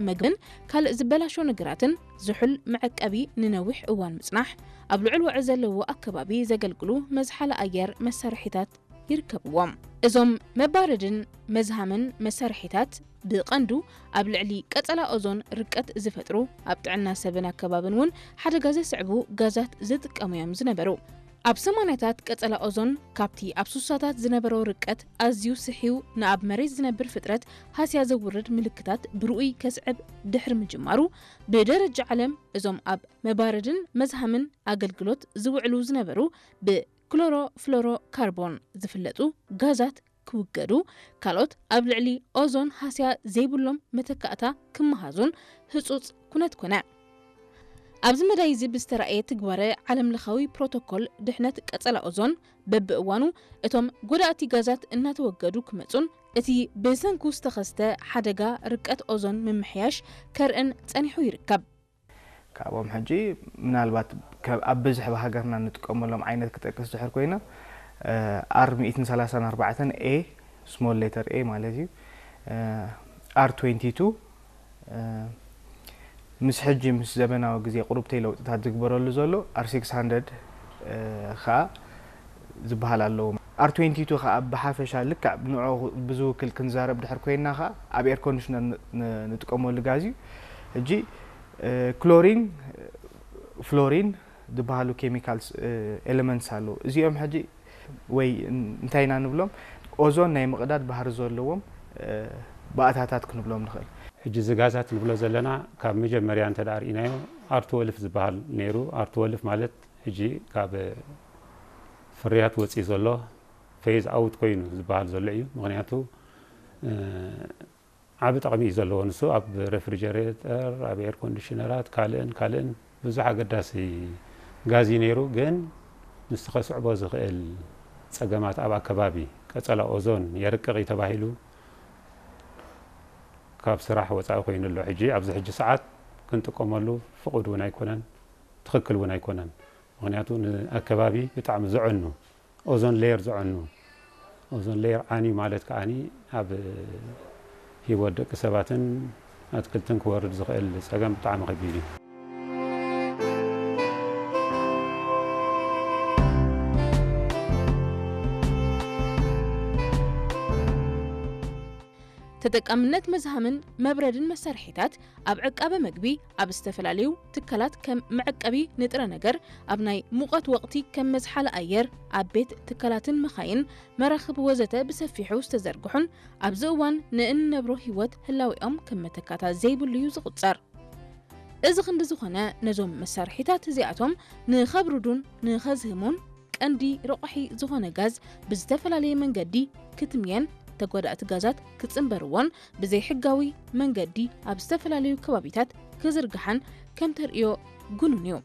መግብን ካልእ ዝበላሾ ነገራትን ዝሑል መዐቀቢ ንነዊሕ እዋን ምጽናሕ፣ ኣብ ልዑል ወዐ ዘለዎ ኣከባቢ ዘገልግሉ መዝሓሊ ኣየር መሳርሒታት ይርከብዎም። እዞም መባረድን መዝሃምን መሳርሒታት ብቐንዱ ኣብ ልዕሊ ቀጸላ ኦዞን ርቀት ዝፈጥሩ፣ ኣብ ጥዕና ሰብን ኣከባብን እውን ሓደጋ ዘስዕቡ ጋዛት ዝጥቀሙ እዮም ዝነበሩ። ኣብ ሰማንያታት ቀጸላ ኦዞን ካብቲ ኣብ ሱሳታት ዝነበሮ ርቀት ኣዝዩ ስሕዩ ንኣብ መሬት ዝነብር ፍጥረት ሃስያ ዘውርድ ምልክታት ብርኡይ ከስዕብ ድሕሪ ምጅማሩ፣ ብደረጃ ዓለም እዞም ኣብ መባረድን መዝሃምን ኣገልግሎት ዝውዕሉ ዝነበሩ ብክሎሮፍሎሮካርቦን ዝፍለጡ ጋዛት ክውገዱ፣ ካልኦት ኣብ ልዕሊ ኦዞን ሃስያ ዘይብሎም መተካእታ ክመሃዙን ህጹጽ ኩነት ኮነ። ኣብዚ መዳይ እዚ ብዝተራእየ ትግባረ ዓለምለኻዊ ፕሮቶኮል ድሕነት ቀጸላ ኦዞን በብእዋኑ እቶም ጎዳእቲ ጋዛት እናተወገዱ ክመጹን እቲ ብሰንኩ ዝተኸስተ ሓደጋ ርቀት ኦዞን ምምሕያሽ ከርእን ጸኒሑ ይርከብ። ካብኦም ሕጂ ምናልባት ከ- ኣብ ብዝሕ ብሃገርና ንጥቀመሎም ዓይነት ክጠቅስ ድሕር ኮይና ኣር ሚእትን ሰላሳን ኣርባዕተን ኤ፣ ስሞል ሌተር ኤ ማለት እዩ። ኣር ትዌንቲ ቱ ምስ ሕጂ ምስ ዘበናዊ ግዜ ቁሩብተይ ለውጥታት ዝግበረሉ ዘሎ ኣር ሲክስ ሃንድረድ ከዓ ዝበሃል ኣለዎ። ኣር ትዌንቲ ቱ ከዓ ብሓፈሻ ልክዕ ንዕኡ ብዝውክል ክንዛረብ ድሕር ኮይና ከዓ ኣብ ኤር ኮንዲሽነር ን- ን- ንጥቀመሉ ጋዝ እዩ። ሕጂ ክሎሪን፣ ፍሎሪን ዝበሃሉ ኬሚካልስ ኤለመንትስ ኣለዉ። እዚኦም ሕጂ ወይ እንታይ ኢና ንብሎም? ኦዞን ናይ ምቕዳድ ባህሪ ዘለዎም ባእታታት ክንብሎም ንኽእል። ሕጂ እዚ ጋዛት ንብሎ ዘለና ካብ መጀመርያ እንተ ደኣ ርኢናዮ ኣር ትወልፍ ዝበሃል ነይሩ። ኣር ትወልፍ ማለት ሕጂ ካብ ፍርያት ወፂኡ ዘሎ ፌዝ ኣውት ኮይኑ ዝበሃል ዘሎ እዩ። ምክንያቱ ዓቢ ጠቕሚ እዩ ዘለዎ። ንሱ ኣብ ሬፍሪጀሬተር፣ ኣብ ኤር ኮንዲሽነራት፣ ካልእን ካልእን ብዙሕ ኣገዳሲ ጋዝ እዩ ነይሩ። ግን ምስቲ ከስዕቦ ዝኽእል ጸገማት ኣብ ኣከባቢ ቀጸላ ኦዞን የርቅቕ እዩ ተባሂሉ ካብ ስራሕ ወጻኢ ኮይኑ ኣሎ። ሕጂ ኣብዚ ሕጂ ሰዓት ክንጥቀመሉ ፍቑድ እውን ኣይኮነን፣ ትኽክል እውን ኣይኮነን። ምኽንያቱ ንኣከባቢ ብጣዕሚ ዘዕኑ ኦዞን ሌየር ዘዕኑ ኦዞን ሌየር ዓንዩ ማለት ከዓኒ ኣብ ሂወት ደቂ ሰባትን ኣትክልትን ክወርድ ዝኽእል ጸገም ብጣዕሚ ከቢድ እዩ። ተጠቃምነት መዝሃምን መብረድን መሳርሒታት ኣብ ዕቃበ መግቢ፣ ኣብ ዝተፈላለዩ ትካላት ከም መዕቀቢ ንጥረ ነገር፣ ኣብ ናይ ሙቐት ወቕቲ ከም መዝሓሊ ኣየር፣ ኣብ ቤት ትካላትን መኻይን፣ መራኽብ ወዘተ ብሰፊሑ ዝተዘርግሑን ኣብዚ እዋን ንእንነብሮ ህይወት ህላዌኦም ከም መተካእታ ዘይብሉ እዩ ዝቑጸር። እዚ ክንዲ ዝኾነ ነዞም መሳርሒታት እዚኣቶም ንኸብርዱን ንኸዝህሙን ቀንዲ ረቋሒ ዝኾነ ጋዝ ብዝተፈላለየ መንገዲ ክትምየን ተጓዳእቲ ጋዛት ክጽንበርዎን ብዘይሕጋዊ መንገዲ ኣብ ዝተፈላለዩ ከባቢታት ክዝርግሓን ከም ተርእዮ ግኑን እዩ።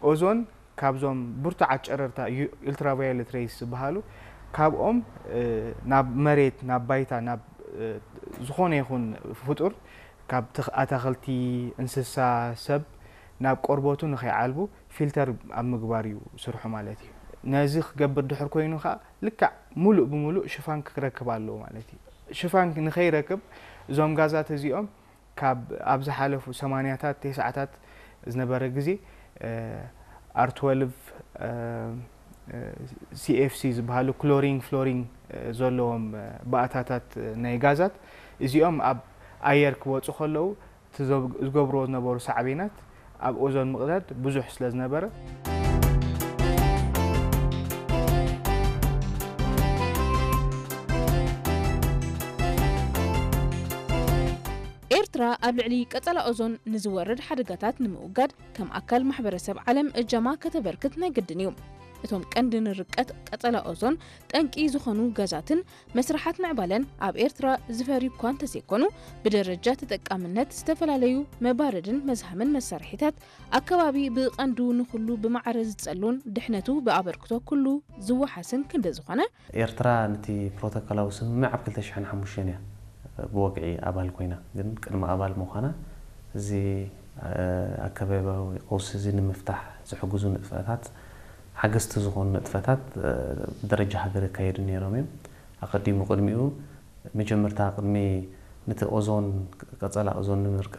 ኦዞን ካብዞም ብርቱዓት ጨረርታ ዩ- ኡልትራቫዮሌት ሬይስ ዝበሃሉ ካብኦም ናብ መሬት ናብ ባይታ ናብ ዝኾነ ይኹን ፍጡር ካብ ኣታኽልቲ፣ እንስሳ፣ ሰብ ናብ ቆርበቱ ንኸይዓልቡ ፊልተር ኣብ ምግባር እዩ ስርሑ ማለት እዩ። ነዚ ክገብር ድሕር ኮይኑ ከዓ ልክዕ ሙሉእ ብሙሉእ ሽፋን ክረክብ ኣለዎ ማለት እዩ። ሽፋን ንኸይረክብ እዞም ጋዛት እዚኦም ካብ ኣብ ዝሓለፉ ሰማንያታት ተስዓታት ዝነበረ ግዜ ኣር ትወልቭ፣ ሲኤፍሲ ዝበሃሉ ክሎሪን ፍሎሪን ዘለዎም ባእታታት ናይ ጋዛት እዚኦም ኣብ ኣየር ክወፁ ከለዉ እቲ ዝገብርዎ ዝነበሩ ሳዕቤናት ኣብ ኦዞን ምቕዳድ ብዙሕ ስለ ዝነበረ ኤርትራ ኣብ ልዕሊ ቀጸላ ኦዞን ንዝወርድ ሓደጋታት ንምውጋድ ከም ኣካል ማሕበረሰብ ዓለም እጃማ ከተበርክት ናይ ግድን እዩ። እቶም ቀንዲ ንርቀት ቀጸላ ኦዞን ጠንቂ ዝኾኑ ጋዛትን መስርሓት ምዕባለን ኣብ ኤርትራ ዝፈርዩ እኳ እንተዘይኮኑ፣ ብደረጃ ተጠቃምነት ዝተፈላለዩ መባረድን መዝሃምን መሳርሒታት ኣከባቢ ብቐንዱ ንኹሉ ብማዕረ ዝጸሉን ድሕነቱ ብኣበርክቶ ኩሉ ዝወሓስን ክንዲ ዝኾነ፣ ኤርትራ ነቲ ፕሮቶኮላዊ ስምምዕ ኣብ ክልተ ሽሕን ሓሙሽተን እያ ብወግዒ ኣባል ኮይና። ግን ቅድሚ ኣባል ምዃና እዚ ኣከባብያዊ ቀውሲ እዚ ንምፍታሕ ዝሕግዙ ንጥፈታት፣ ሓገዝቲ ዝኾኑ ንጥፈታት ብደረጃ ሃገር ይካየዱ ነይሮም እዮም። ኣቐዲሙ ቅድሚኡ መጀመርታ ቅድሚ ነቲ ኦዞን ቀጸላ ኦዞን ንምርቃ